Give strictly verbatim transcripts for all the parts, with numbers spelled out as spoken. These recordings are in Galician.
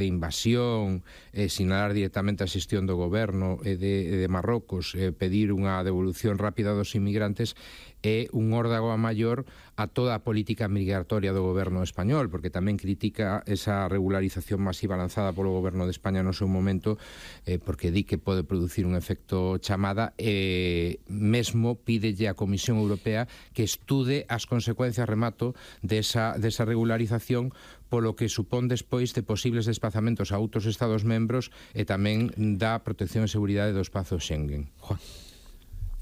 de invasión, eh, sinalar directamente a xestión do goberno e de, de Marrocos, eh, pedir unha devolución rápida dos inmigrantes, é un órdago a maior a toda a política migratoria do goberno español, porque tamén critica esa regularización masiva lanzada polo goberno de España no seu momento, eh, porque di que pode producir un efecto chamada, e eh, mesmo pídelle á Comisión Europea que estude as consecuencias, remato, desa, desa regularización, polo que supón despois de posibles desplazamentos a outros Estados membros e tamén da protección e seguridade do espazo Schengen. Juan.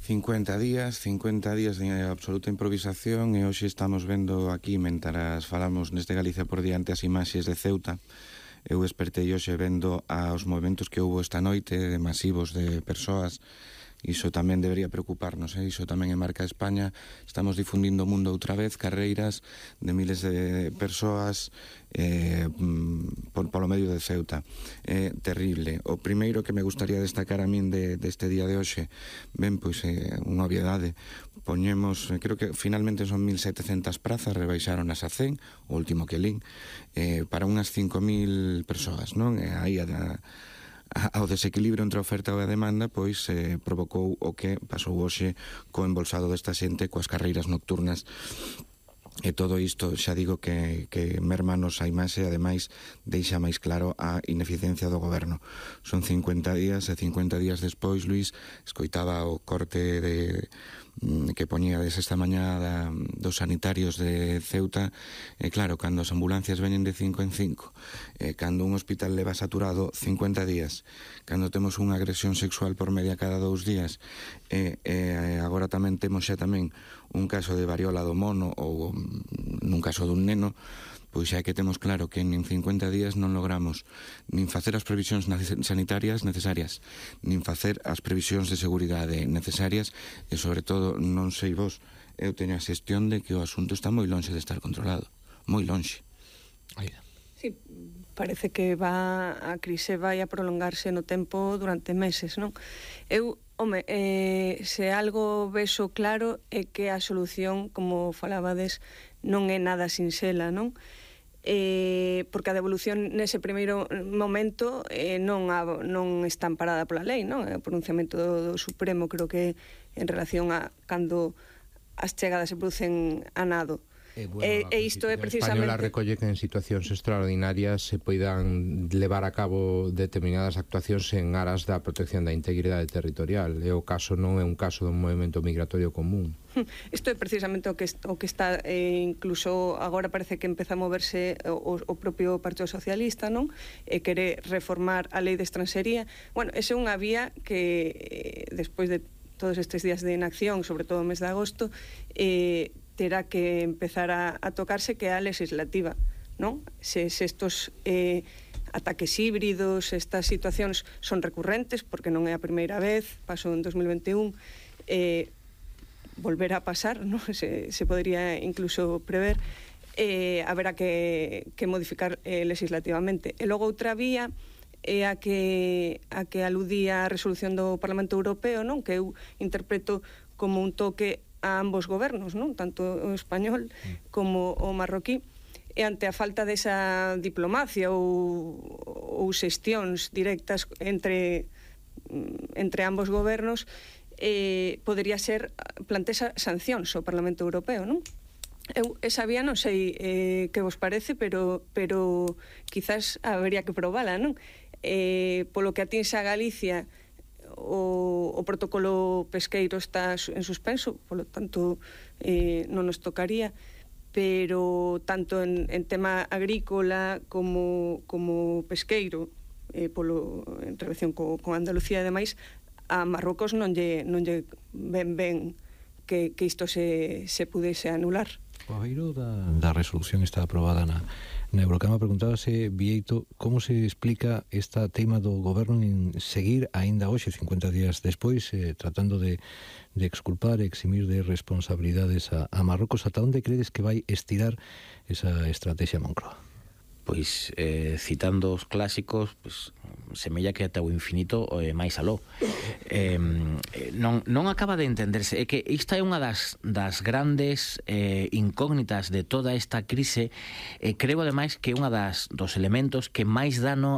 cincuenta días, cincuenta días de absoluta improvisación, e hoxe estamos vendo aquí, mentras falamos neste Galicia por diante, as imaxes de Ceuta. Eu despertei hoxe vendo aos movimentos que houve esta noite, de masivos de persoas. Iso tamén debería preocuparnos, eh? Iso tamén é marca de España. Estamos difundindo o mundo outra vez, carreiras de miles de persoas eh, por, polo medio de Ceuta. É eh, terrible. O primeiro que me gustaría destacar a min de, deste día de hoxe, ben, pois, eh, unha obviedade. Poñemos, eh, creo que finalmente son mil setecentas prazas, rebaixaron as a cen, o último que lín, eh, para unhas cinco mil persoas, non? E aí a ao desequilibrio entre a oferta e a demanda, pois eh, provocou o que pasou hoxe co embolsado desta xente coas carreiras nocturnas. E todo isto, xa digo que, que mermanos a imaxe, ademais deixa máis claro a ineficiencia do goberno. Son cincuenta días, e cincuenta días despois, Luís, escoitaba o corte de que poñíades esta mañá da, dos sanitarios de Ceuta. E claro, cando as ambulancias veñen de cinco en cinco, e cando un hospital leva saturado cincuenta días, cando temos unha agresión sexual por media cada dous días, e, e agora tamén temos xa tamén un caso de variola do mono, ou nun caso dun neno, pois xa que temos claro que en cincuenta días non logramos nin facer as previsións sanitarias necesarias, nin facer as previsións de seguridade necesarias, e sobre todo, non sei vos, eu teño a xestión de que o asunto está moi lonxe de estar controlado, moi lonxe. Sí, parece que va a crise vai a prolongarse no tempo durante meses, non? Eu, home, eh, se algo vexo claro é que a solución, como falabades, non é nada sinxela, non? Eh, porque a devolución nese primeiro momento eh, non, a, non está amparada pola lei, non? O pronunciamento do, do Supremo, creo que en relación a cando as chegadas se producen a nado. E, bueno, e, e isto é precisamente... española recolle que en situacións extraordinarias se poidan levar a cabo determinadas actuacións en aras da protección da integridade territorial. E o caso non é un caso dun movimento migratorio común. Isto é precisamente o que, o que está, eh, incluso agora parece que empeza a moverse o, o propio Partido Socialista, non? E quere reformar a lei de estranxería. Bueno, esa é unha vía que, eh, despois de todos estes días de inacción, sobre todo o mes de agosto, eh, terá que empezar a, a tocarse, que é a legislativa, non? Se, se estos eh, ataques híbridos, estas situacións son recurrentes, porque non é a primeira vez, pasou en dos mil veintiún, eh, volverá a pasar, non? Se, se podría incluso prever, eh, haberá que, que modificar eh, legislativamente. E logo outra vía é a que, a que aludía a resolución do Parlamento Europeo, non? Que eu interpreto como un toque a ambos gobernos, non? Tanto o español como o marroquí, e ante a falta desa diplomacia ou, ou xestións directas entre, entre ambos gobernos, eh, podería ser plantesa sancións ao Parlamento Europeo, non? Eu esa vía non sei eh, que vos parece, pero, pero quizás habería que probala, non? Eh, polo que atinse a Galicia, O, o protocolo pesqueiro está en suspenso, polo tanto eh, non nos tocaría, pero tanto en, en tema agrícola como, como pesqueiro, eh, polo, en relación co, con Andalucía e demais, a Marrocos non lle, non lle ven ben que, que isto se, se pudese anular. O aveiro da, da resolución está aprobada na, na Eurocámara. Preguntábase, Bieito, como se explica esta tema do goberno en seguir aínda hoxe, cincuenta días despois, eh, tratando de, de exculpar e eximir de responsabilidades a, a Marrocos. Ata onde credes que vai estirar esa estrategia Moncloa? Pois, eh, citando os clásicos, pues, semella que ata o infinito eh, máis aló. Eh, non, non acaba de entenderse. É que esta é unha das, das grandes eh, incógnitas de toda esta crise. Eh, creo, ademais, que é unha das dos elementos que máis dano